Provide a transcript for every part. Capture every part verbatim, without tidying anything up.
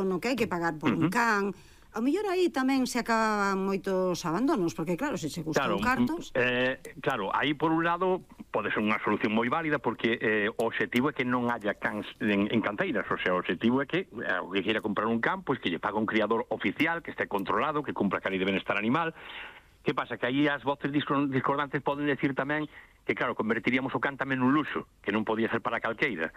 no que hai que pagar por un can. A mellor aí tamén se acaban moitos abandonos, porque claro, se che gustan cartos... Eh, claro, aí por un lado pode ser unha solución moi válida, porque eh, o objetivo é que non haya cans en, en canteiras, o sea, o objetivo é que eh, o que queira comprar un can, pois que lle paga un criador oficial, que esté controlado, que cumpra a lei de benestar animal. Que pasa? Que aí as voces discordantes poden decir tamén que, claro, convertiríamos o can tamén nun luxo, que non podía ser para calqueira.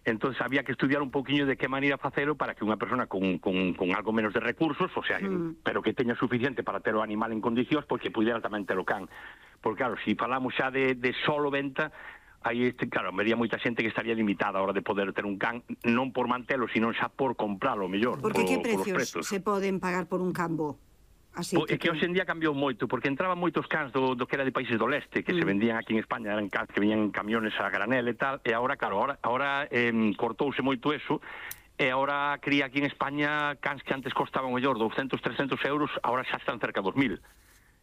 Entonces había que estudiar un poquinho de que maneira facelo para que unha persona con, con, con algo menos de recursos, o sea, mm. pero que teña suficiente para ter o animal en condicións, pois que pudiera tamén ter o can. Porque claro, se si falamos xa de, de solo venta, aí, este, claro, vería moita xente que estaría limitada a hora de poder ter un can, non por mantelo, sino xa por compralo, mellor. Porque que precios se poden pagar por un cambo? Así o, que, é que hoxe en día cambiou moito, porque entraban moitos cans do, do que era de países do leste, que mm. se vendían aquí en España, eran cans que venían en camiones a granel e tal, e agora, claro, agora, agora eh, cortouse moito eso, e agora cría aquí en España cans que antes costaban mellor doscientos, trescentos euros, agora xa están cerca dos mil.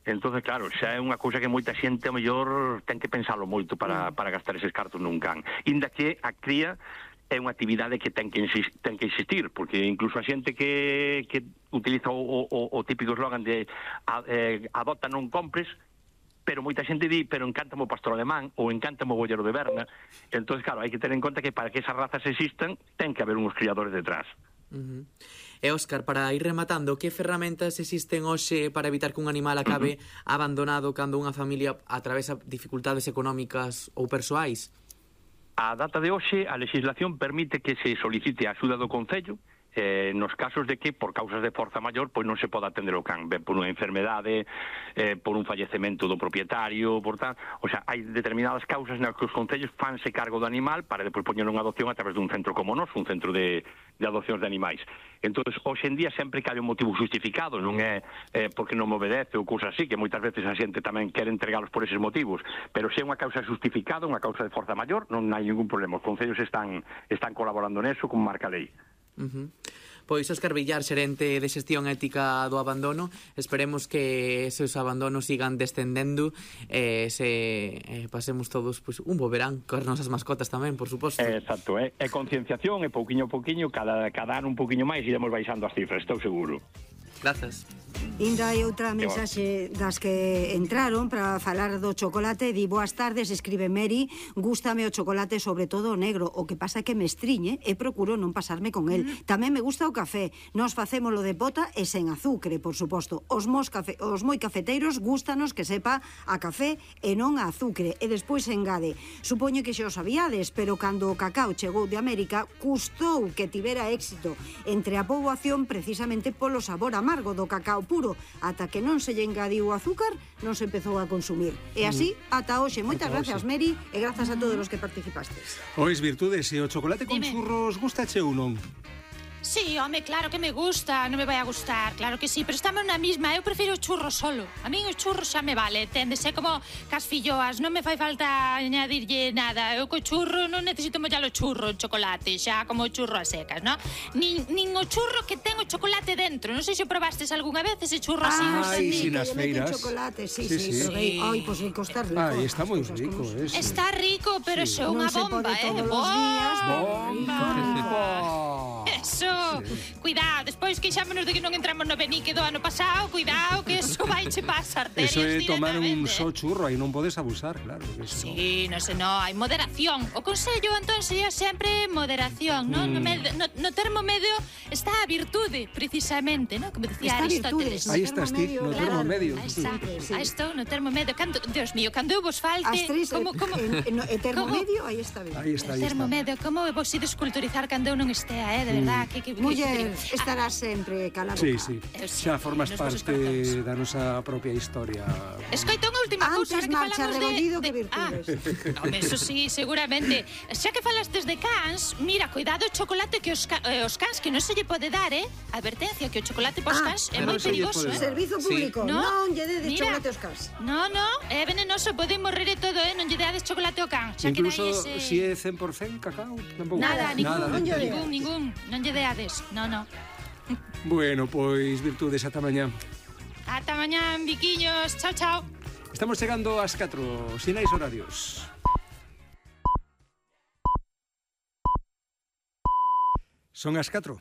Entonces, claro, xa é unha cousa que moita xente, ao mellor, ten que pensalo moito para, para gastar eses cartos nun can. Inda que a cría é unha actividade que ten que, insist, ten que existir, porque incluso a xente que, que utiliza o, o, o típico eslogan de a, eh, adopta non compres, pero moita xente di, pero encántame o pastor alemán ou encántame o bollero de Berna. Entón, claro, hai que ter en conta que para que esas razas existan, ten que haber uns criadores detrás. Uh -huh. E Óscar, para ir rematando, que ferramentas existen hoxe para evitar que un animal acabe uh -huh. abandonado cando unha familia atravesa dificultades económicas ou persoais? A data de hoxe, a legislación permite que se solicite a axuda do Concello eh, nos casos de que, por causas de forza maior, pois non se poda atender o can, ben por unha enfermedade, eh, por un fallecemento do propietario, por tal. O sea, hai determinadas causas nas que os concellos fanse cargo do animal para depois poñelo en adopción a través dun centro como nós, un centro de, de adopcións de animais. Entón, hoxe en día, sempre que hai un motivo justificado, non é eh, porque non me obedece ou cousas así, que moitas veces a xente tamén quere entregalos por eses motivos, pero se é unha causa justificada, unha causa de forza maior, non hai ningún problema. Os concellos están, están colaborando neso como marca a lei. Uh -huh. Pois Óscar Villar, xerente de xestión ética do abandono, esperemos que esos abandonos sigan descendendo e eh, se eh, pasemos todos pues, un bo verán coas nosas mascotas tamén, por suposto. Eh, exacto, é eh? concienciación e pouquiño a pouquiño, cada, cada ano un pouquiño máis iremos baixando as cifras, estou seguro. Grazas. Inda hai outra mensaxe das que entraron para falar do chocolate. Di, boas tardes, escribe Mary, gústame o chocolate, sobre todo o negro, o que pasa é que me estriñe e procuro non pasarme con el. Mm. Tamén me gusta o café, nos facémolo de pota e sen azucre, por suposto. Os, mos cafe, os moi cafeteiros gústanos que sepa a café e non a azucre. E despois engade, supoño que xa o sabíades, pero cando o cacao chegou de América, custou que tivera éxito entre a poboación precisamente polo sabor amargo do cacao puro, ata que non se lle engadiu o azúcar, non se empezou a consumir. E así, ata hoxe. Moitas gracias, Mary, e grazas a todos os que participastes. Ois, Virtudes, e o chocolate con churros gustache ou non? Sí, home, claro que me gusta, non me vai a gustar, claro que sí, pero estamos na mesma, eu prefiro o churro solo. A min o churro xa me vale, tendes, é como cas filloas, non me fai falta añadirlle nada. Eu co churro non necesito mollar o churro, o chocolate, xa como o churro a secas, non? Nin, nin o churro que ten o chocolate dentro, non sei se probastes algunha vez ese churro así. Ah, sí, sí, nas feiras. Chocolate, sí, sí, sí, probei. Ai, pois rico, está rico. Ai, está moi rico, ese. Está rico, pero é unha bomba, eh? Bomba! Bomba! Eso, sí. Cuidado, despois queixámonos de que non entramos no Benique do ano pasado, cuidado, que eso vai che pasar arterias. Eso é tomar un só churro, aí non podes abusar, claro. Eso. Sí, non sei, non, hai moderación. O consello, Antón, sería sempre moderación, non? Mm. No, medio, no, no termo medio está a virtude, precisamente, non? Como decía Aristóteles. Aí estás ti, no termo medio. Aí está, aí estou, no termo medio. Cando, Dios mío, cando eu vos falte... Astrid, como, como, en, en termo medio, aí está ben. Aí está, aí está. Termo medio, como vos ides culturizar cando eu non estea, eh, de verdad, que... que Muller, estará sempre cala boca. Sí, sí, xa formas parte da nosa propia historia. Escoita unha última cousa, que falamos de... que Virtudes. Ah, no, eso sí, seguramente. Xa que falastes de cans, mira, cuidado o chocolate que os, ca... eh, os cans que non se lle pode dar, eh? Advertencia, que o chocolate pos ah, cans é moi perigoso, eh? Servizo público, sí. Non lle dedes chocolate aos cans. No, no, é venenoso, poden morrer e todo, eh? Non lle deades chocolate ao can. Xa incluso ese... si é cen por cen cacao, tampouco. Nada, ningún, Nada, non lle ningún, ningún, non lle deades, no, no. Bueno, pois, Virtudes, ata mañá. Ata mañá, biquiños, chao, chao. Estamos chegando ás catro, sinais horarios. Son as catro.